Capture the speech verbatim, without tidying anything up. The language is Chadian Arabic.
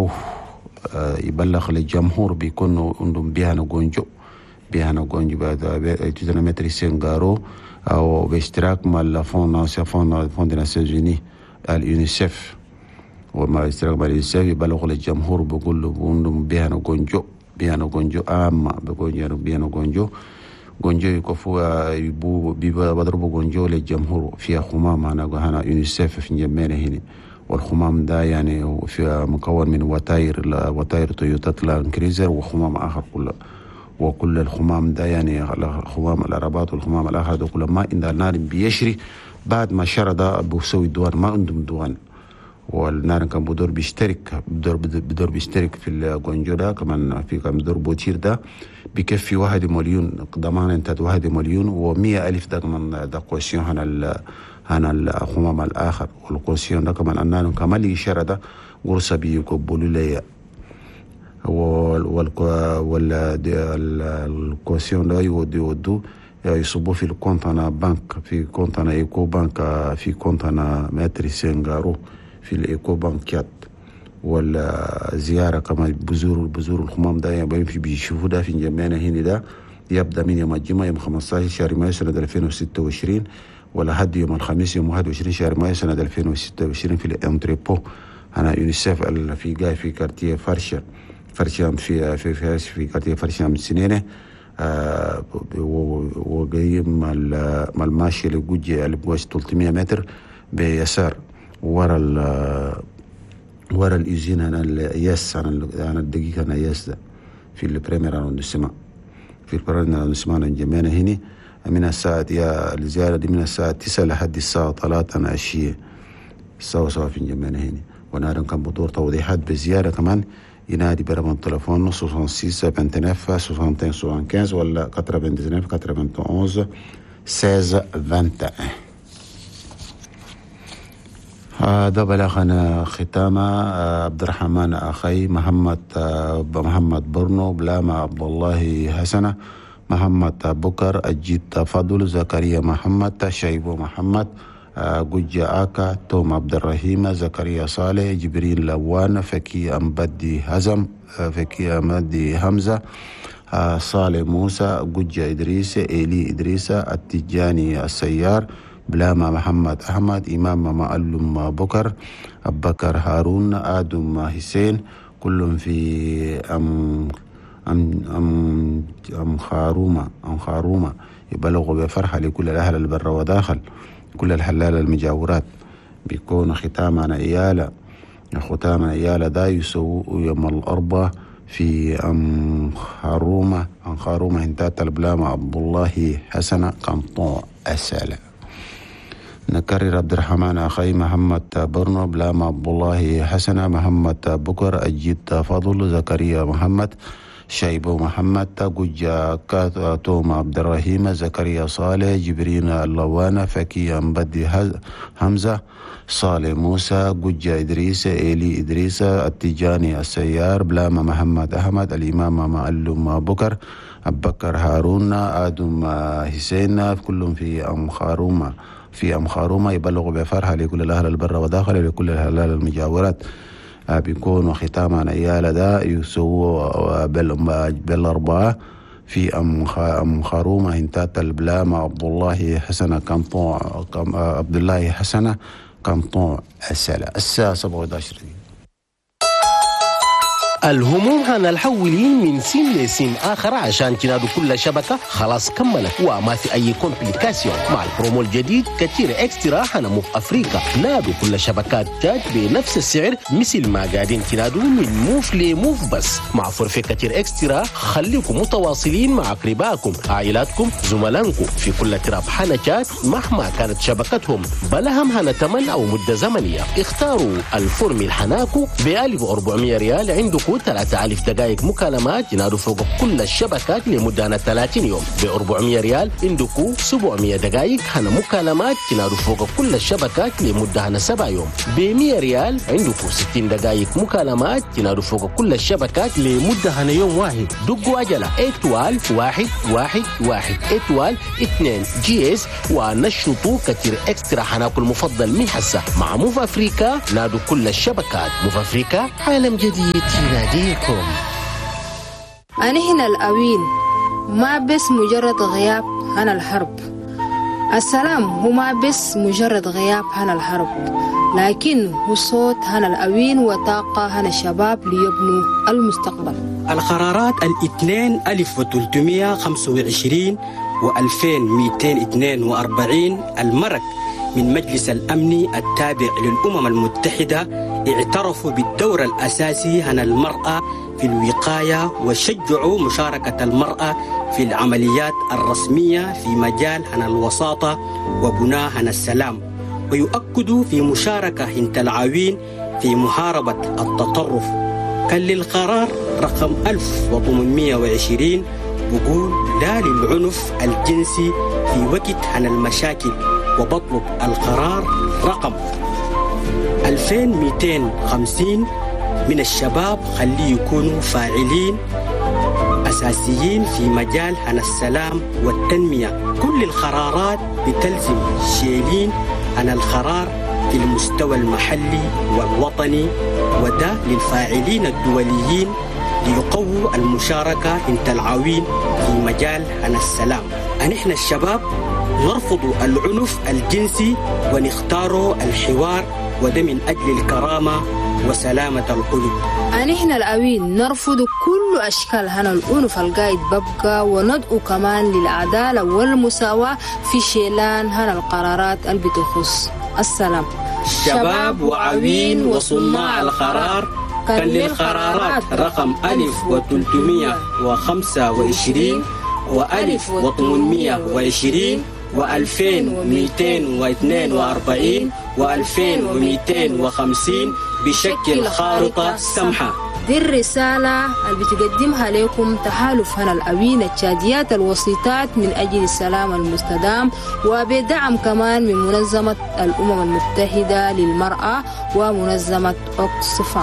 معروف يبلغ للجمهور بيكونوا عندهم بيهنا جونجو بيهنا جونجو بعد maître سينغارو او باشتراك مع ال fonds fonds fonds des Nations Unies اليونيسف، ومع اشتراك مع اليونيسف يبلغ للجمهور بيقول له عندهم بيهنا جونجو بيهنا جونجو عامة بيقول بيهنا جونجو جونجو يكفوا يبو بيضربوا جونجو للجمهور فيها خمام هنا هنا يونيسف في جمينا هنا. والخمام ده يعني في مكون من وتاير وتاير تويوتا لاند كريزر وخمام آخر كله، وكل الخمام ده يعني خمام العربات والخمام الآخر ده كله ما عند النار بيشري بعد ما شرى ده بيسوي دوان ما عندهم دوان. والنار كان بدور بيشترك بدور بدور بيشترك في الجونجو ده كمان في كان بدور بوتير ده بيكفي واحد مليون ضمان انت واحد مليون ومية ألف ده كمان ده caution هنا هنا الخمام الآخر. وال caution ده كمان النار كمان اللي شرى ده قرصة بيقبلوا لي وال وال وال caution ده يودي يودو يصبوا في ال compte هنا بنك في compte هنا ايكو بانك في compte هنا maître سينغارو في الايكو بانكات. والزيارة كما بزور بزور الخمام ده يعني بيشوفوا ده في جمعنا هنا ده يبدأ من يوم الجمعة يوم خمسة عشر شهر مايو سنة ألفين وستة وعشرين ولحد يوم الخميس يوم واحد وعشرين شهر مايو سنة ألفين وستة وعشرين في ال entrepôt هنا يونيسف في جاي في quartier فرشة فرشة في في في, في quartier فرشة من سنينة آه وجاي مع الماشي اللي جوجي اللي بوش ثلاثمية متر بيسار ورا ال ورا ال usine هنا الياس انا انا الدقيقة انا ياس ده في ال premier arrondissement في ال premier arrondissement جمعنا هنا من الساعة يا الزيارة دي من الساعة تسعة لحد الساعة ثلاثة عشية سوا سوا في جمعنا هنا. ونار كان بدور توضيحات بزيارة كمان ينادي برقم التليفون ستة وستين تسعة وتسعين واحد وخمسة ولا تسعة وتسعين واحد ستة واحد. هذا بلغنا ختامة عبد الرحمن أخي محمد محمد برنو بلاما عبد الله حسنة محمد بكر أجيت فضل زكريا محمد شايبو محمد جوجا آكا توم عبد الرحيم زكريا صالح جبريل لوان فكي أمبدي هزم فكي أمبدي حمزة صالح موسى جوجا إدريس إيلي إدريس التجاني السيار بلاما محمد أحمد إمام معلم بكر أبكر هارون آدم حسين كلهم في أم أم أم أم خارومة أم خارومة يبلغوا بفرحة لكل الأهل البر وداخل كل الحلال المجاورات. بيكون ختامنا إيالة ختامنا إيالة دا يسوء يوم الأربعاء في أم خارومة أم خارومة هنتات البلامة عبد الله حسن قنطو أسالة. نكرر عبد الرحمن أخي محمد برنو بلامة عبد الله حسن محمد بكر أجيت فضل زكريا محمد شايبو محمد جوجا توم عبد الرحيم زكريا صالح جبرين اللوانة فكي أمبدي حمزة صالح موسى جوجا إدريس إيلي إدريس التجاني السيار بلامة محمد أحمد الإمام معلم بكر أبكر هارون آدم حسين كلهم في أم خارومة في أم خارومة يبلغ بفرحة لكل الأهل البر وداخل لكل الهلال المجاورات. بيكون ختاما إيالة دا يسووا بالأربعة في أم أم خارومة هنتات البلامة عبد الله حسن كنطو عبد الله حسن كنطو السلة الساعة سبعة وعشرين. الهموم هنا الحولين من سين لسين آخر عشان تنادوا كل شبكة خلاص كملت وما في أي complication. مع البرومو الجديد كتير extra هنا موف أفريقيا نادوا كل شبكات تاج بنفس السعر مثل ما قاعدين تنادوا من موف لموف، بس مع forfait كتير extra خليكم متواصلين مع أقربائكم عائلاتكم زملائكم في كل تراب حنا تشاد مهما كانت شبكتهم بلا هم هنا تمن أو مدة زمنية. اختاروا ال formule حناكو ب ألف وأربعمية ريال عندكم عندكم ثلاثة آلاف دقائق مكالمات ينادوا فوق كل الشبكات لمدة ثلاثين يوم. ب أربعمية ريال عندكم سبعمية دقائق هنا مكالمات تنادوا فوق كل الشبكات لمدة هنا سبع يوم. ب مية ريال عندكم ستين دقائق مكالمات تنادوا فوق كل الشبكات لمدة هنا يوم واحد. دقوا عجلة étoile واحد واحد واحد étoile اثنين dièse ونشطوا كتير extra حناكل المفضل من حسة. مع Moov Africa نادوا كل الشبكات. Moov Africa، عالم جديد يناديكم. أنحنا العوين ما بس مجرد غياب عن الحرب. السلام هو ما بس مجرد غياب عن الحرب، لكن هو صوت هنا العوين وطاقة هنا الشباب ليبنوا المستقبل. القرارات الاثنين ألف وثلاثمية خمسة وعشرين وألفين ميتين اثنين وأربعين المرق من مجلس الأمن التابع للأمم المتحدة اعترفوا بالدور الأساسي هنا المرأة في الوقاية، وشجعوا مشاركة المرأة في العمليات الرسمية في مجال هنا الوساطة وبناء هنا السلام، ويؤكدوا في مشاركة هنت العوين في محاربة التطرف. كان للقرار رقم ألف وثمانمية وعشرين بقول لا للعنف الجنسي في وقت عن المشاكل، وبطلب القرار رقم ألفين ومئتين وخمسين من الشباب خليه يكونوا فاعلين أساسيين في مجال عن السلام والتنمية. كل القرارات بتلزم شيلين عن القرار في المستوى المحلي والوطني، وده للفاعلين الدوليين ليقووا المشاركة انت العوين في مجال عن السلام. نحن الشباب نرفض العنف الجنسي ونختار الحوار، وده من أجل الكرامة وسلامة القلوب. نحن العوين نرفض كل أشكال هنا العنف القاعد ببقى، وندعو كمان للعدالة والمساواة في شيلان هنا القرارات اللي بتخص السلام. شباب وعوين وصناع القرار، كان للقرارات رقم ألف وثلاثمية وخمسة وعشرين وألف وثمانمية وعشرين وألفين ومئتين واثنين وأربعين وألفين ومئتين وخمسين بشكل خارطة سمحة. دي الرسالة اللي بتقدمها لكم تحالف هنا العوين التشاديات الوسيطات من أجل السلام المستدام، وبدعم كمان من منظمة الأمم المتحدة للمرأة ومنظمة أوكسفام.